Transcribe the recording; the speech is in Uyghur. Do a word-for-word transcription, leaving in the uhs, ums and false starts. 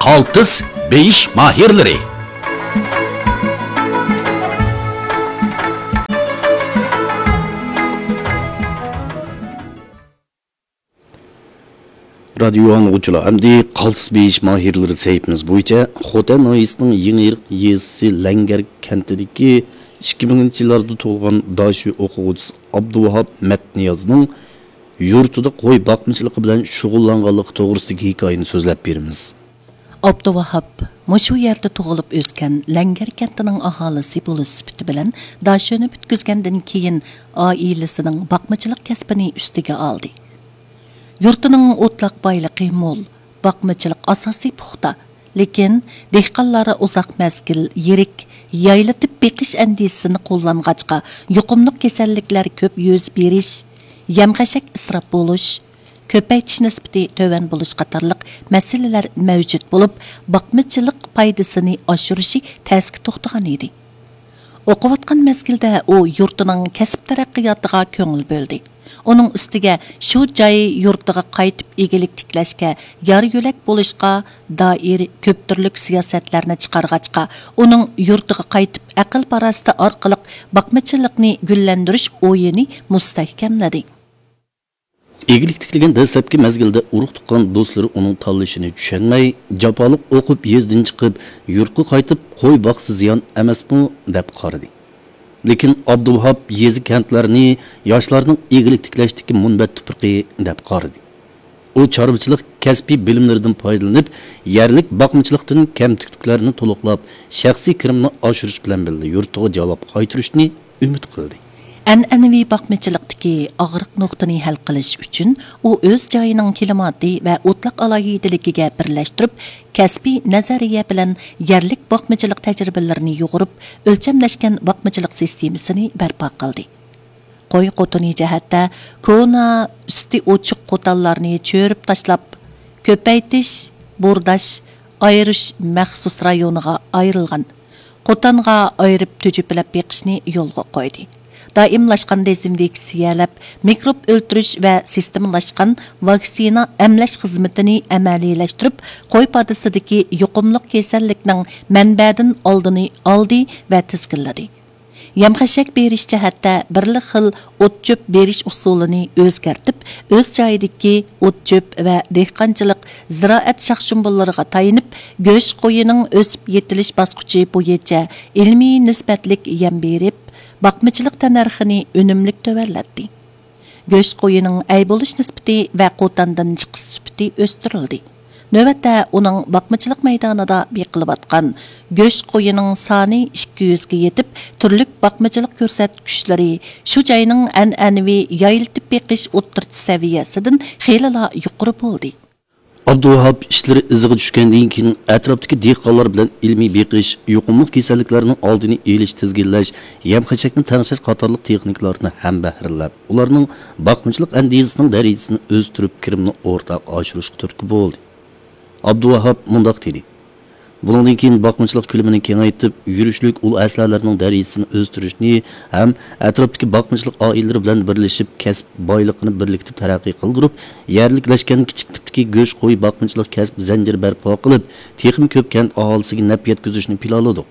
قالتىس بېيىش ماھىرلىرى. رادىيو ئاڭلىغۇچىلار، ئەمدى قالتىس بېيىش ماھىرلىرى سەھىپىمىز بويىچە خوتەن ناھىيەسىنىڭ يېڭى يېزىسى لەڭگەر كەنتىدىكى ئىككى مىڭىنچى يىللاردا تۇغۇلغان داشۆ ئوقۇغۇچىسى ئابدۇۋاھاپ مەتنىيازنىڭ يۇرتىدا قوي باقمىچىلىقى بىلەن شۇغۇللانغانلىقى توغرىسىدىكى ھېكايىنى سۆزلەپ بېرىمىز. ئابدۇۋاھاپ مۇشۇ يەردە تۇغۇلۇپ ئۆسكەن لەڭگەر كەنتىنىڭ ئاھالىسى بولۇش سۈپىتى بىلەن داشۆنى پۈتكۈزگەندىن كېيىن، ئائىلىسىنىڭ باقمىچىلىق كەسپىنى ئۈستىگە ئالدى. يۇرتىنىڭ ئوتلاق بايلىقى مول، باقمىچىلىق ئاساسى پۇختا. لېكىن دېھقانلار ئۇزاق مەزگىل يىرىك، يايلىتىپ بېقىش ئەندىزىسىنى قوللانغاچقا، يۇقۇملۇق كېسەللىكلەر كۆپ يۈز بېرىش، يەم-خەشەك ئىسراپ بولۇش، كۆپەيتىش نىسبىتى تۆۋەن بولۇش قاتارلىق مەسىلىلەر مەۋجۇت بولۇپ، باقمىچىلىق پايدىسىنى ئاشۇرۇشى تەسكە توختىغان ئىدى. ئوقۇۋاتقان مەزگىلدە ئۇ يۇرتىنىڭ كەسىپ تەرەققىياتىغا كۆڭۈل بۆلدى. ئۇنىڭ ئۈستىگە شۇ جاي يۇرتىغا قايتىپ ئىگىلىك تىكلەشكە يار-يۆلەك بولۇشقا دائىر كۆپ تۈرلۈك سىياسەتلەرنى چىقارغاچقا، ئۇنىڭ يۇرتىغا قايتىپ ئەقىل-پاراسىتى ئارقىلىق باقمىچىلىقنى گۈللەندۈرۈش ئويىنى مۇستەھكەملىدى. ئىگىلىك تىكلىگەن دەسلەپكى مەزگىلدە ئۇرۇق-تۇغقان دوستلىرى ئۇنىڭ تاللىشىنى چۈشەنمەي، جاپالىق ئوقۇپ يېزىدىن چىقىپ، يۇرتقا قايتىپ قوي باقسا زىيان ئەمەسمۇ دەپ قارىدى. لېكىن ئابدۇۋاھاپ يېزا-كەنتلەرنى ياشلارنىڭ ئىگىلىك تىكلەشتىكى مۇنبەت تۇپرىقى دەپ قارىدى. ئۇ چارۋىچىلىق كەسپىي بىلىملىرىدىن پايدىلىنىپ، يەرلىك باقمىچىلىقتىن كەمتۈكلۈكلەرنى تولۇقلاپ، شەخسىي كىرىمىنى ئاشۇرۇش بىلەن بىللە يۇرتىغا جاۋاب قايتۇرۇشنى ئۈمىد قىلدى. ئەنئەنىۋى باقمىچىلىقتىكى ئاغرىق نۇقتىنى ھەل قىلىش ئۈچۈن، ئۇ ئۆز جايىنىڭ كىلىماتى ۋە ئوتلاق ئالاھىدىلىكىگە بىرلەشتۈرۈپ، كەسپىي نەزەرىيە بىلەن يەرلىك باقمىچىلىق تەجرىبىلىرىنى يۇغۇرۇپ، ئۆلچەملەشكەن باقمىچىلىق سىستېمىسىنى بەرپا قىلدى. قوي قوتۇنى جەھەتتە كونا، ئۈستى ئوچۇق قوتانلارنى چۆرۈپ تاشلاپ، كۆپەيتىش، بورداش، ئايرىش مەخسۇس رايونىغا ئايرىلغان قوتانغا ئايرىپ تۈجۈپىلەپ بېقىشنى يولغا قويدى. دائىملاشقان دېزىنفېكسىيەلەپ، مىكروب ئۆلتۈرۈش ۋە سىستېمىلاشقان ۋاكسىنا ئەملەش خىزمىتىنى ئەمەلىيلەشتۈرۈپ، قوي پادىسىدىكى يۇقۇملۇق كېسەللىكنىڭ مەنبەدىن ئالدىنى ئالدى ۋە تىزگىنلىدى. يەم-خەشەك بېرىش جەھەتتە بىرلا خىل ئوت-چۆپ بېرىش ئۇسۇلىنى ئۆزگەرتىپ، ئۆز جايىدىكى ئوت-چۆپ ۋە دېھقانچىلىق زىرائەت شاخ-شۇمبۇللىرىغا تايىنىپ، گۆش قويىنىڭ ئۆسۈپ يېتىلىش باسقۇچى بويىچە ئىلمىي نىسبەتلىك يەم بېرىپ، باقمىچىلىق تەننەرخىنى ئۈنۈملۈك تۆۋەنلەتتى. گۆش قويىنىڭ ئەي بولۇش نىسبىتى ۋە قوتاندىن چىقىش سۈپىتى ئۆستۈرۈلدى. نۆۋەتتە ئۇنىڭ باقمىچىلىق مەيدانىدا بېقىلىۋاتقان گۆش قويىنىڭ سانى ئىككى يۈزگە يېتىپ، تۈرلۈك باقمىچىلىق كۆرسەتكۈچلىرى شۇ جاينىڭ ئەنئەنىۋى يايلىتىپ بېقىش ئوتتۇرىچە سەۋىيەسىدىن خېلىلا يۇقىرى بولدى. ئابدۇۋاھاپ ئىشلىرى ئىزىغا چۈشكەندىن كېيىن، ئەتراپتىكى دېھقانلار بىلەن ئىلمىي بېقىش، يۇقۇملۇق كېسەللىكلەرنىڭ ئالدىنى ئېلىش، تىزگىنلەش، يەم-خەشەكنى تەڭشەش قاتارلىق تېخنىكىلارنى ھەمبەھىرلەپ، ئۇلارنىڭ باقمىچىلىق ئەندىزىسىنىڭ دەرىجىسىنى ئۆستۈرۈپ، كىرىمنى ئورتاق ئاشۇرۇشقا تۈرتكە بولدى. ئابدۇۋاھاپ مۇنداق دېدى: بۇنىڭدىن كېيىن باقمىچىلىق كۆلىمىنى كېڭەيتىپ، يۈرۈشلۈك ئۇل ئەسلىھەلەرنىڭ دەرىجىسىنى ئۆستۈرۈشنى ھەم ئەتراپتىكى باقمىچىلىق ئائىلىلىرى بىلەن بىرلىشىپ، كەسىپ بايلىقىنى بىرلىكتە تەرەققىي قىلدۇرۇپ، يەرلىكلەشكەن كىچىك تىپتىكى گۆش قوي باقمىچىلىق كەسىپ زەنجىرى بەرپا قىلىپ، تېخىمۇ كۆپ كەنت ئاھالىسىگە نەپ يەتكۈزۈشنى پىلانلىدۇق.